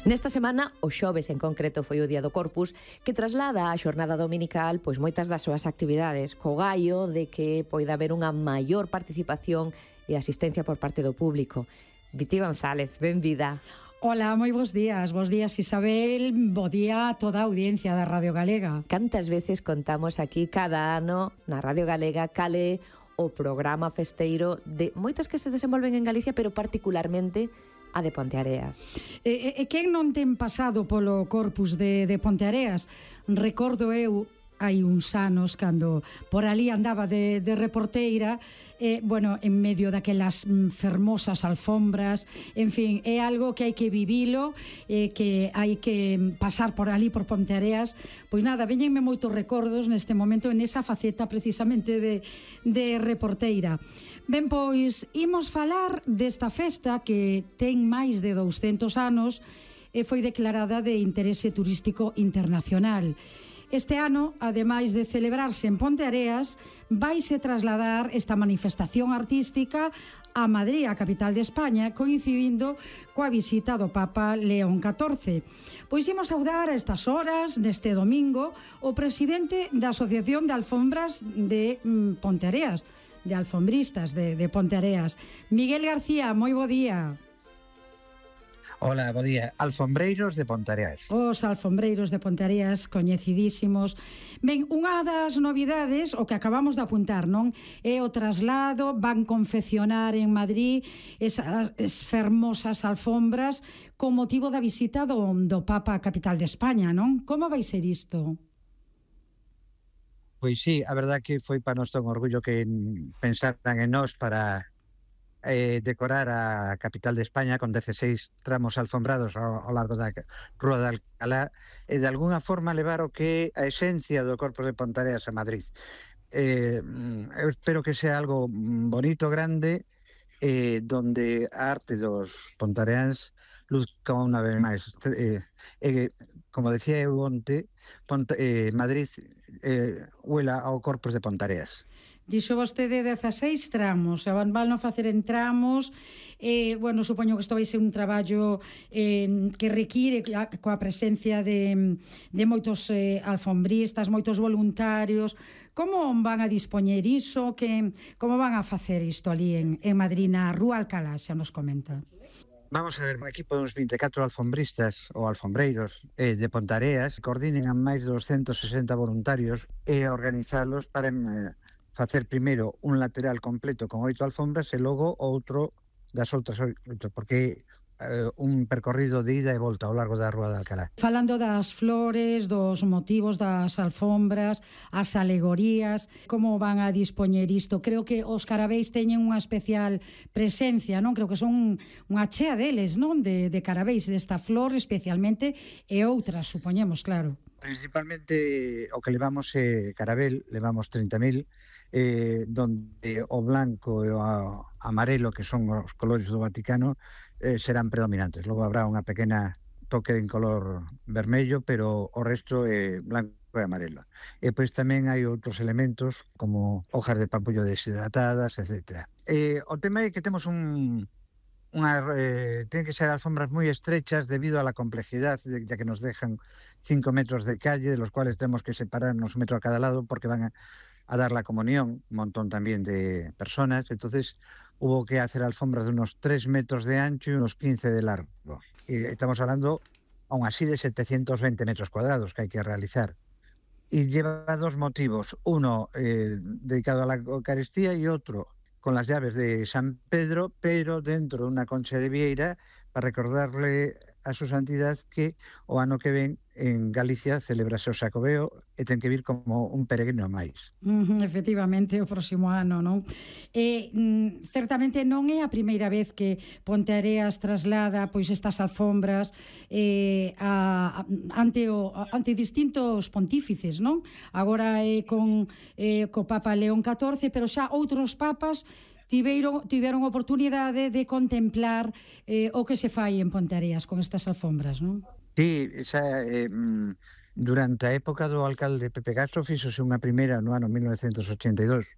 Nesta semana, o xoves en concreto foi o Día do Corpus, que traslada á xornada dominical pois moitas das súas actividades, co gallo de que poida haber unha maior participación e asistencia por parte do público. Viti González, benvida. Ola, moi bons días Isabel, bo día a toda a audiencia da Radio Galega. Cantas veces contamos aquí cada ano na Radio Galega cale o programa festeiro de moitas que se desenvolven en Galicia, pero particularmente a de Ponteareas. Quen non ten pasado polo Corpus de Ponteareas? Recordo eu hai uns anos cando por ali andaba de reporteira, en medio daquelas fermosas alfombras, en fin, é algo que hai que vivilo, que hai que pasar por ali por Ponteareas. Pois nada, veñenme moitos recordos neste momento en esa faceta precisamente de reporteira. Ben, pois, imos falar desta festa que ten máis de 200 anos e foi declarada de interese turístico internacional. Este ano, ademais de celebrarse en Ponteareas, vaise trasladar esta manifestación artística a Madrid, a capital de España, coincidindo coa visita do Papa León XIV. Pois imos saudar a estas horas, neste domingo, o presidente da Asociación de Alfombras de Ponteareas, de alfombristas de Ponteareas. Miguel García, moi bo día. Hola, bo día. Alfombreiros de Ponteareas. Os alfombreiros de Ponteareas, coñecidísimos. Ben, unha das novidades, o que acabamos de apuntar, non? É o traslado, van confeccionar en Madrid esas fermosas alfombras con motivo da visita do Papa á capital de España, non? Como vai ser isto? Pois sí, a verdad que foi para nós un orgullo que pensaran en nós para decorar a capital de España con 16 tramos alfombrados ao largo da Rúa de Alcalá e de alguna forma levar o que a esencia do Corpus de Ponteareas a Madrid. Eu espero que sea algo bonito, grande, donde a arte dos pontareáns luzca unha vez máis. Como decía eu onte, Madrid huela ao Corpus de Ponteareas. Dixo vostede 16 tramos, van non facer en tramos, supoño que isto vai ser un traballo que require coa presencia de moitos alfombristas, moitos voluntarios. Como van a dispoñer iso? Como van a facer isto ali en Madrid, na Rúa Alcalá, xa nos comenta? Vamos a ver, un equipo de uns 24 alfombristas ou alfombreiros de Ponteareas coordinen a máis de 260 voluntarios e organizalos para facer primeiro un lateral completo con 8 alfombras e logo outro das outras 8, porque un percorrido de ida e volta ao largo da Rúa de Alcalá. Falando das flores, dos motivos das alfombras, as alegorías, como van a dispoñer isto? Creo que os carabéis teñen unha especial presencia, non? Creo que son unha chea deles, non? De carabéis desta flor especialmente e outras, supoñemos, claro. Principalmente o que levamos carabel, levamos 30.000, donde o blanco e o amarelo, que son os colores do Vaticano, serán predominantes. Logo habrá unha pequena toque en color vermello, pero o resto é blanco e amarelo. E pois tamén hai outros elementos como hojas de pampullo deshidratadas, etc. O tema é que temos tienen que ser alfombras moi estrechas debido a la complejidade, ya que nos dejan 5 metros de calle, de los cuales tenemos que separarnos 1 metro a cada lado porque van a dar la comunión, un montón también de personas. Entonces hubo que hacer alfombras de unos 3 metros de ancho y unos 15 de largo. Y estamos hablando aún así de 720 metros cuadrados que hay que realizar. Y lleva dos motivos, uno dedicado a la Eucaristía y otro con las llaves de San Pedro, pero dentro de una concha de vieira para recordarle a su santidad que o ano que ven en Galicia celebrase o Xacobeo e ten que vir como un peregrino máis. Efectivamente, o próximo ano, non? Certamente non é a primeira vez que Ponteareas traslada pois estas alfombras ante distintos pontífices, non? Agora é co Papa León XIV, pero xa outros papas tiveron oportunidade de contemplar o que se fai en Ponteareas con estas alfombras, non? Sí, durante a época do alcalde Pepe Castro fíxose unha primeira no ano 1982